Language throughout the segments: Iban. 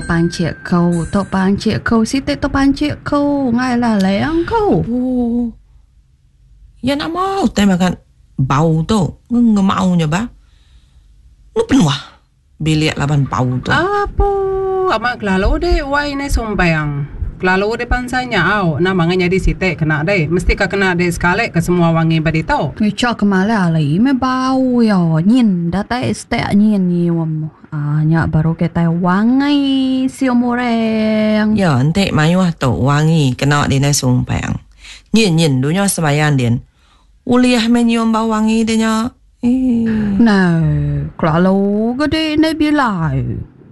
Tu pancik ku, tu pancik ku, siti tu pancik ku, ngai lalang ku. Oh. Ya nama utai makan bau tu ngemau nya bah. Nu penuh bilik laban bau tu. Apu, amat kelalu deh wai neh sumpang. Kelalu deh pansa nya au, nama ngan nyadi siti kena deh. Mesti ka kena deh sekali ke semua wangi ba ditu. Ngicha ke malai ali meh bau iya. Nyin datai stek nyin nyium. Aaa nya baru kitai wangi sium orang. Ya enti mayuh tu wangi kena dinai sumpang. Nyin nyin dunya sembahyang din. Ulih meh nyium bau wangi de nya. Eii. Neh, kelalu ga dek indai Bilai.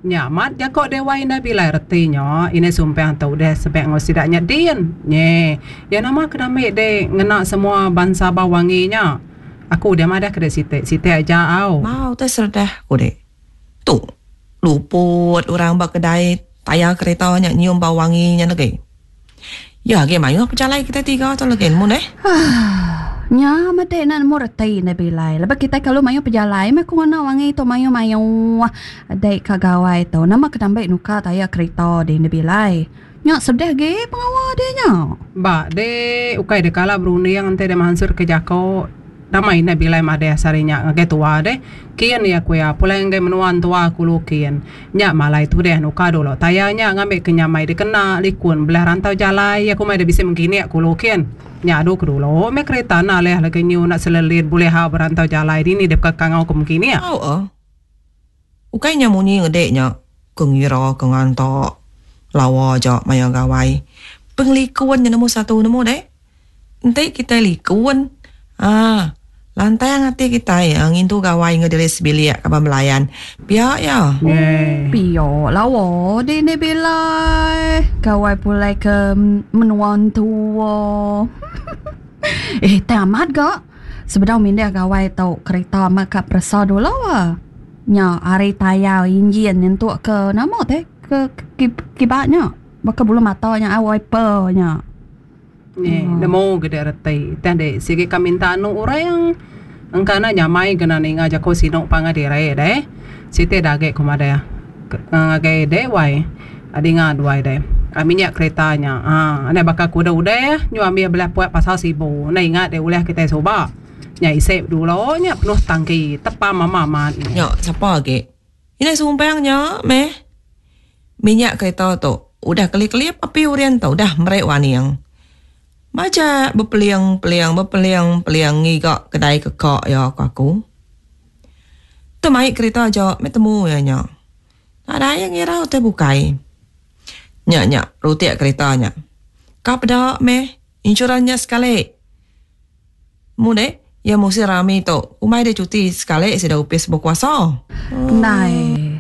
Nya amat jako dewai indai Bilai reti nya indai Sumpang tu udah sebek enggau sida nya din. Nyeh, iya nama ke ambi dek ngena semua bansa bau wangi nya. Aku udah madah ke dek siti, siti aja au. Bau te seredah ku dek. Tu luput orang ba kedai tayar kereta nya nyium bau wangi nya legi. Ya agi mayuh pejalai kitai tiga tu legi nemu neh. Nya meh enda nemu reti enda bilai. Laban kitai kelalu mayuh pejalai meh ku ngena wangi tu mayuh mayuh dei ka gawai tu. Nama ke nambi nukar tayar kerita dih enda bilai. Nya sedih agi pengawa dih nya. Ba deh ukai deh kala berunding enti deh mansut ke jako. Nama indai bilai madeh sehari nya ngagai tua deh. Kin iya ku iya pulai ngagai menua entua ku Lukin. Nya malai tudeh nukar dulu tayar nya ngambi ke nyamai dikena likun belah rantau jalai iya ku mai deh bisi mengkinik ku Lukin. Nya adu ke dulu meh kerita enda alih lagi nyu enda selelit bulih hak berantau jalai dini deh peka kangau ke mengkinik. Au eh. Ukai nya munyi ngede nya ke ngira ke nganta lawa aja maya gawai. Pengelikun nya nombor satu nemu deh. Enti kitai likun aaa lantang ati kitai ngintu gawai enggau diri sebilik kaban belayan pia iya. Pia lawa dini bilai gawai pulai ke menua entua. Eh tang amat ga sebedau mindah gawai tu kerita amat ka peresa dulu ah. Nya ari tayar injin nyentuk ke nama teh ke kiba nya baka bulu mata nya wiper nya. Neh, nemu ga dek reti. Tang dek sigi ka minta anu orang. Engka enda nyamai kena ninga jaku sinu pangan diri deh. Siti da agi ku madah ngagai dek wai. Dinga duai deh. Minyak kereta nya aaa enda baka ku udah udah nyu ambih belah puak pasal sibu. Enda ingat dek ulih kitai suba. Nya isi dulu nya penuh tangki tepam amat amat. Nya sapa agi. Indai sumpang nya meh. Minyak kereta tu udah kelip-kelip api urin tu udah meri waning. Majak bepeling-peling bepeling-peling ngiga kedai keka iya ku aku. Tu mai kereta aja meh temu iya nya. Nadai iya ngira utai bukai. Nya nya rutik kereta nya. Ka peda meh insurans nya sekali. Mu deh, iya musin rami tu. Umai deh cuti sekali sida opis bekuasa. Ndai.